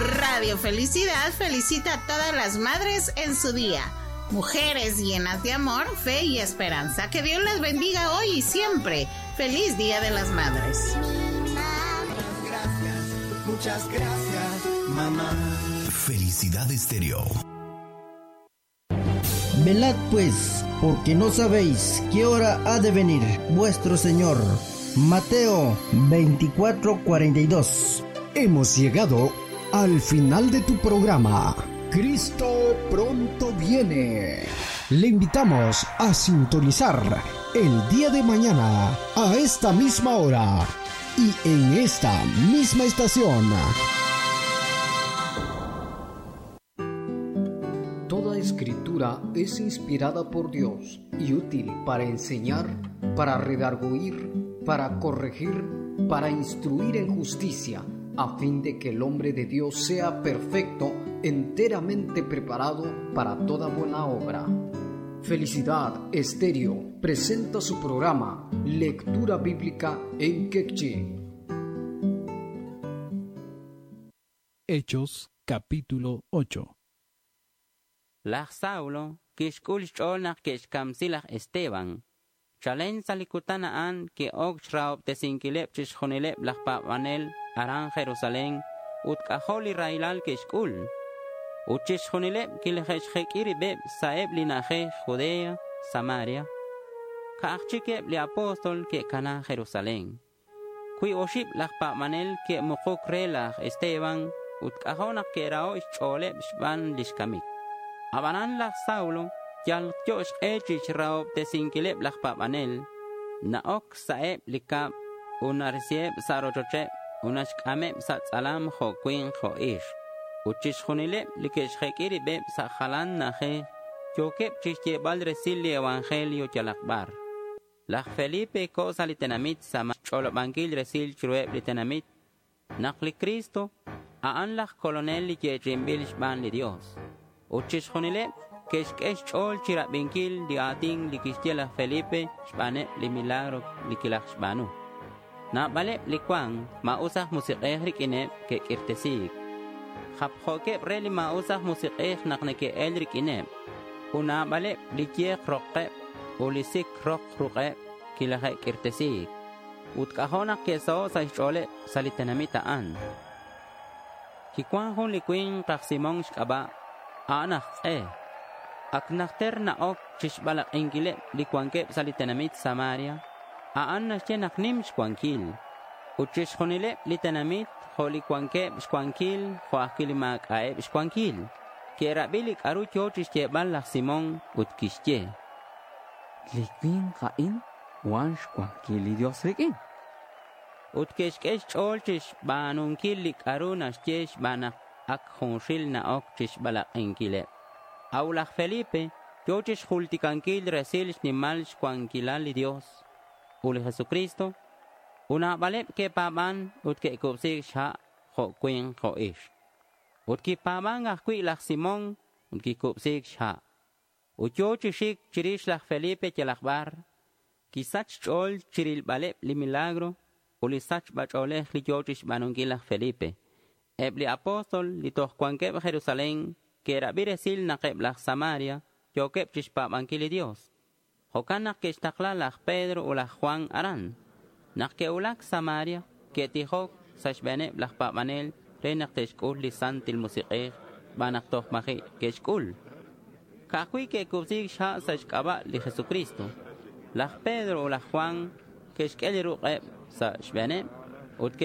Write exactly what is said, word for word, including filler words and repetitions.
Radio Felicidad felicita a todas las madres en su día. Mujeres llenas de amor, fe y esperanza. Que Dios las bendiga hoy y siempre. Feliz Día de las Madres. Muchas gracias, muchas gracias, mamá. Felicidad Estéreo. Velad pues, porque no sabéis qué hora ha de venir vuestro Señor. Mateo veinticuatro cuarenta y dos. Hemos llegado al final de tu programa. Cristo pronto viene. Le invitamos a sintonizar el día de mañana a esta misma hora y en esta misma estación. Toda escritura es inspirada por Dios y útil para enseñar, para redarguir, para corregir, para instruir en justicia, a fin de que el hombre de Dios sea perfecto, enteramente preparado para toda buena obra. Felicidad Estéreo presenta su programa Lectura Bíblica en Quechí. Hechos capítulo ocho. Laj Saulo kixk'ul xch'ool naq ke'xkamsi laj Esteban. Chalen sa' li kutan a'an ke'ok xrahob'tesinkileb' chixjunileb' laj paab'anel aran Jerusalén ut k'ajo' li rahilal ke'xk'ul. Ut chixjunileb' kileje'xjek'i rib'eb' sa'eb' li na'ajej Judea, Samaria. Ka'aj chikeb' li apóstol ke'kana Jerusalén. Kui oxib' laj paab'anel ke'muquk re laj Esteban ut k'ajo' naq ke'raho' xch'ooleb' xb'aan lix kamik. Abanan laj Saulo yal yo xq'e chixrahob'tesinkileb' laj paab'anel. Na'ok sa'eb' li kab' unarisiheb' sa' rochocheb' unaxk'ameb' sa' tz'alam jo' winq jo' ix. Ut chixjunileb' li ke'xjek'i rib'eb' sa' jalan na'ajej yookeb' chixyeeb'al resil li evangelio yalaq b'ar. Laj Felipe ko' sa' li tenamit sa' xch'olob'ankil resil chiruheb' li tenamit naq li Cristo a'an laj kolonel li yeechi'inb'il xb'aan li Dios. Ut chixjunileb' ke'xk'e xch'ool chirab'inkil li aatin li kixye laj Felipe xb'aaneb' li milagro li kilaj xb'aanu. Naab'aleb' li cuan maa'us aj musiq'ej rik'ineb' ke'k'irtesiik. Japjo'keb' re li maa'us aj musiq'ej naq neke'el rik'ineb'. Ut naab'aleb' li yeq roqeb' ut li sik roq ruq'eb' kilaje'k'irtesiik. Ut k'ajo' naq ke'saho' sa' xch'ooleb' sa' li tenamit a'an. Kiwan jun li winq aj Simón xk'ab'a' a'an aj q'e. Ak najter na'ok chixb'alaq'inkileb' li wankeb' sa' li tenamit Samaria, a'an naxye naq nim xwankil. Ut chixjunileb' li tenamit jo' li wankeb' xwankil jo' ajwi' li maak'a'eb' xwankil. Ke'rab'i li k'aru yo chixyeeb'al laj Simón ut kixye: Li winq a'in wan xwankil li Dios rik'in. Ut ke'xk'e xch'ool chixb'aanunkil li k'aru naxye xb'aan naq ak junxil na'ok chixb'alaq'inkileb'. Aw laj Felipe yo chixjultikankil resil xnimal xwankilal li Dios ut li Jesucristo. Ut naab'aleb' ke'paab'an ut ke'kub'siik xha' jo' winq jo' ixq. Ut kipaab'an ajwi' laj Simón ut kikub'siik xha'. Ut yo chi xik chirix laj Felipe yalaq b'ar. Kisach xch'ool chirilb'aleb' li milagro ut li sachb'ach'oolej li yo chixb'aanunkil laj Felipe. Eb' li apóstol li toj wankeb' Jerusalén ke'rab'i resil naq eb' laj Samaria yookeb' chixpaab'ankil li Dios. Jo'kan naq ke'xtaqla laj Pedro ut laj Juan aran. Naq ke'wulak Samaria, ke'tijok sa' xb'eeneb' laj paab'anel re naq te'xk'ul li Santil Musiq'ej xb'aan naq toj maji' ke'xk'ul. Ka'ajwi' ke'kub'siik xha' sa' xk'ab'a' li Jesucristo. Laj Pedro ut laj Juan ke'xk'e li ruq'eb' sa' xb'eeneb'